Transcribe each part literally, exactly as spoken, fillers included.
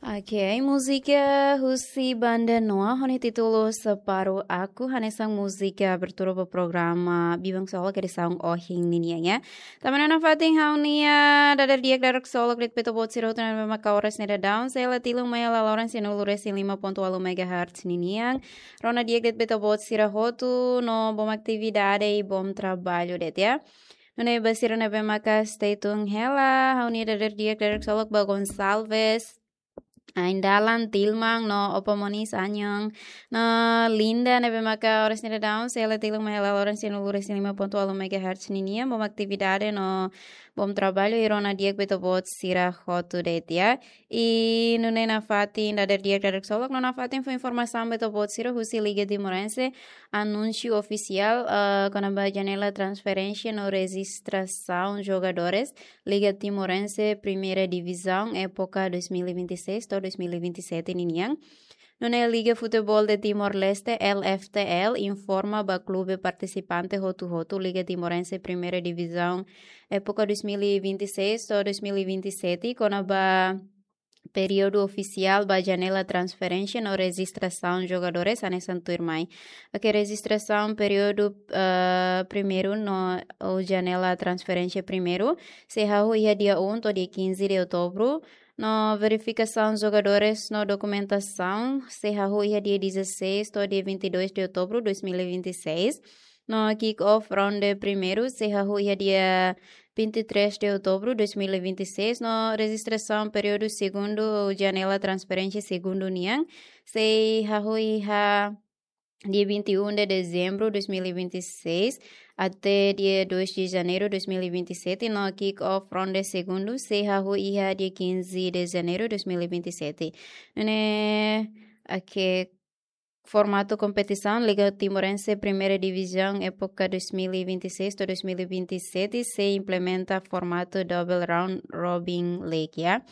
Ok, múzika husi Banda Noa ho nia títulu Separuh Aku, hanesan múzika abertura ba programa Biban Ksolok edisaun ohin ninian, ya. Tanba ne'e nafatin ha'u-nia dadeer di'ak dadeer ksolok de'it ba ita-boot sira hotu ne'ebé maka oras ne'e daudaun, sei la tilun mai hela loron sianulu resin lima pontu ualu megahertz ninian. Rona di'ak de'it ba ita-boot sira hotu no bom atividade i bom trabalho de'it, ya. Nune'e ba sira ne'ebé maka stay tune hela, ha'u-nia dadeer di'ak dadeer ksolok ba Gonçalves, Aindalan, Tilman no Opa Monis, añon, no Linda ne'ebé maka oras ne'e daudaun, sei la tilun mai hela loron sianulu resin lima pontu ualu megahertz ninian, bom atividade no bom trabalho i rona di'ak ba ita-boot sira hotu de'it, ya. I nune'e nafatin dadeer di'ak dadeer ksolok, no nafatin fó informasaun ba ita-boot sira husi Liga Timorense, anúnsiu ofisiál, eh, kona-ba janela transferénsia no rejistrasaun jogadores Liga Timorense Primeira Divisão, época dois mil e vinte e seis to'o dois mil e vinte e sete ninian. Nune'e Liga Futebol de Timor-Leste, L F T L, informa ba klube partisipante hotu-hotu Liga Timorense Primeira Divisão, época dois mil e vinte e seis to'o dois mil e vinte e sete, kona-ba períodu ofisiál ba janela transferénsia no rejistrasaun jogadores hanesan tuirmai. Ok, rejistrasaun períodu, eh, primeiru no, ou janela transferénsia primeiru, sei hahú iha dia um to'o dia quinze de outubro. No verifikasaun jogadores no dokumentasaun, sei hahú iha dia dezasseis to'o dia vinte e dois de outubro dois mil e vinte e seis. No kick-off ronde primeiru, sei hahú iha dia vinte e três de outubro dois mil e vinte e seis, no rejistrasaun períodu segundu, janela transferénsia segundu nian, sei hahú iha dia vinte e um de dezembro dois mil e vinte e seis até dia dois de janeiro dois mil e vinte e sete, no kick-off ronde segundu, sei hahú iha dia quinze de janeiro dois mil e vinte e sete. Nune'e, ok, formatu kompetisaun Liga Timorense Primeira Divisão, época dois mil e vinte e seis to'o dois mil e vinte e sete, sei implementa formatu Double Round Robin League, ya.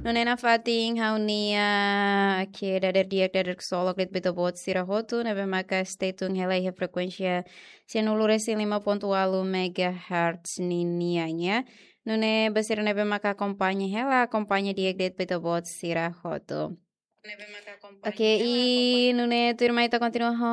Nune'e nafatin ha'u-nia, ok, dadeer di'ak dadeer ksolok de'it ba ita-boot sira hotu ne'ebé maka stay tune hela iha frekuénsia sianulu resin lima pontu ualu megahertz ninian, ya. Nune'e ba sira ne'ebé maka akompaña hela, akompaña di'ak de'it ba ita-boot sira hotu. Ok, i nune'e tuirmai ita kontinua ho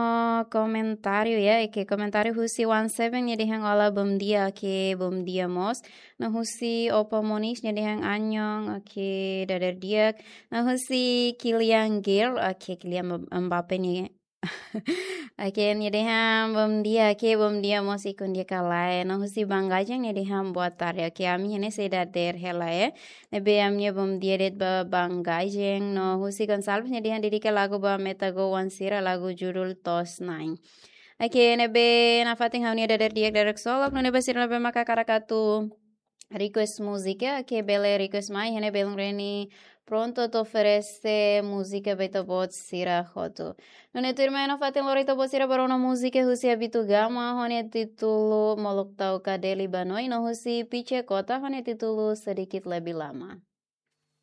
komentáriu, ya, ok, komentáriu husi One Seven nia dehan olá, bom dia, ok, bom dia mós. No husi Opa Monis nia dehan añon, ok, dadeer di'ak. No husi Kylian Girl, ok, Kylian Mb-, Mbappe nia. Ok, nia dehan bom dia, ok, bom dia mós, ikun di'ak ka lae. No husi Bangajeng nia dehan boa tarde, ok, ami iha ne'e sei dadeer hela, ya. Ne'ebé ami-nia bom dia de'it ba Bangajeng, no husi Gonçalves nia dehan dedika lagu ba Metagol oan sira, lagu judul To'os Na'in. Ok, ne'ebé nafatin ha'u-nia dadeer di'ak dadeer ksolok, nune'e ba sira ne'ebé maka hakarak atu request múzika, ok, bele request mai, iha ne'e belun Reni prontu atu oferese múzika ba ita-boot sira hotu. Nune'e tuirmai nafatin lori ita-boot sira ba rona múzika husi Abitu Gama, ho nia títulu Molok Tau Kadeli Banoi, no husi Piche Kota, ho nia títulu Sedikit Lebih Lama.